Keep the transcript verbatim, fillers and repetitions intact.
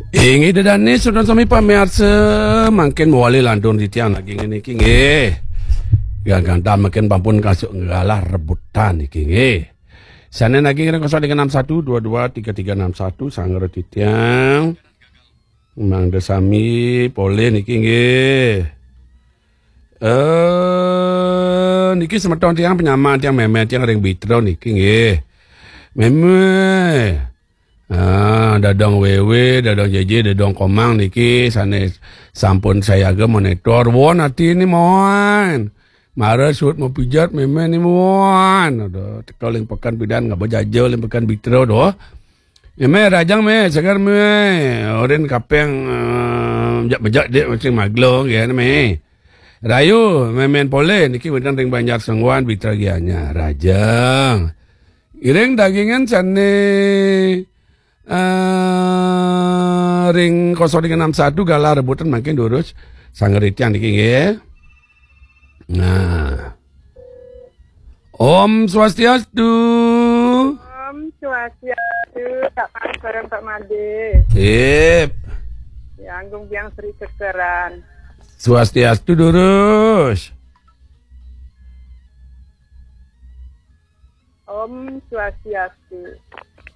Inggih, ida dané, sedaya sami pamiarsa, mangkin mawali lantur titiang nagingin niki, nggih. Gagang ta mangkin sampun kasuk nggalah rebutan niki, nggih. Sané naging ring kosong tiga enam satu dua dua tiga tiga enam satu, sanggra titiang. Mangda sami polih niki, nggih. Eh, niki semeton tiang, panyamaan tiang, mémé tiang ring Bitra niki, nggih. Mémé. Ah, dadong Wéwé, dadong Jéjé, dadong Komang niki sané sampun sayaga monitor. Won ati ni, mon. Mara suud mapijat mémé ni, mon. Aduh, teka ling peken pidan, ngaba jaja ling peken Bitra doh. Mémé, rahajeng, Mé, seger, Mé. Orin kapeng, eh, bejak-bejak dik masih maglo, nggih, Mé. Rahayu, mémén polih niki wénten ring Banjar Sengguan, Bitra Gianyar. Rahajeng. Iring dagingan sané, eh, ring kosong tiga enam satu galah rebutan mangkin durus sanggra titiang niki, nggih. Nah. Om Swastiastu. Om Swastiastu, Pak Mas bareng Pak Madé. Sip. Ya, Agung Biang Sri Sekeran. Swastiastu durus. Om Swastiastu.